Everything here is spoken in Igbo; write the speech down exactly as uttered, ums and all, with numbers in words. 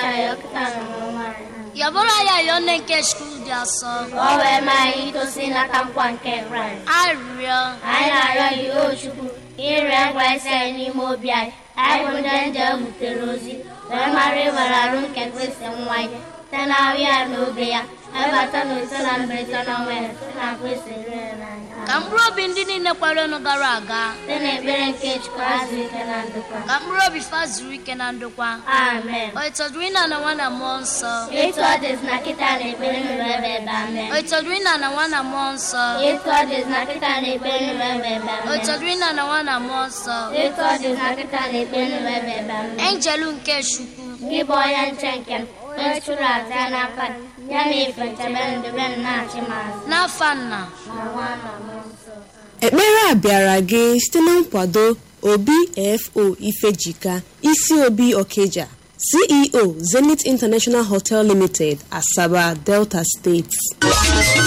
Anyị ọkịta na ọnwa anyị. Yabụrụ ya yọọ nne nke Chukwu dị asọ. Ka ọ wee maa anyị itosi nata nkwa nke Kraịst. Arịrịọ. Anyị na-arịọ gị, o Chukwu, ka ị rịọ nkwa isi anyị n'ime obi anyị. Anyị bụ ndị nje butere ozi, wee mara ịwere arụ nke Kristi nwa ya, site n'ahụ ya na obe ya, webata na ise na mberede na ọnwa ya, site na Kristi rere n'anya. Ka mkpụrụ obi ndị niile kwerenụ gara aga. Site n'ekpere nke Chukwu azụ ike na ndokwa. Ka mkpụrụ obi fa zuru ike na ndokwa. Amen. O ịtọdụrụ ịna na nwa na mmụọ nsọ. Etu ọ dịzị na kịta na ekpere nụrụ ebe ebe amen. O ịtọdụrụ ịna na nwa na mmụọ nsọ. Etu ọ dịzị na kịta na ekpere nụrụ ebe ebe O amen. ịtọdụrụ ịna na nwa na mmụọ nsọ. Etu ọ dịzị na kịta na ekpere nụrụ ebe ebe amen. Enjelu nke Chukwu. Gị bụ onye nche nke m, onye chụrụ aja n'aka gị, ya na ife nchebe ndube m na-achị m azụ. N'afa nna. Na nwa na mmụọ nsọ. Ekpere a bịara gị site na nkwado Obi F O Ifejika, isi Obi Okija, C E O, Zenith International Hotel Limited, Asaba, Delta State.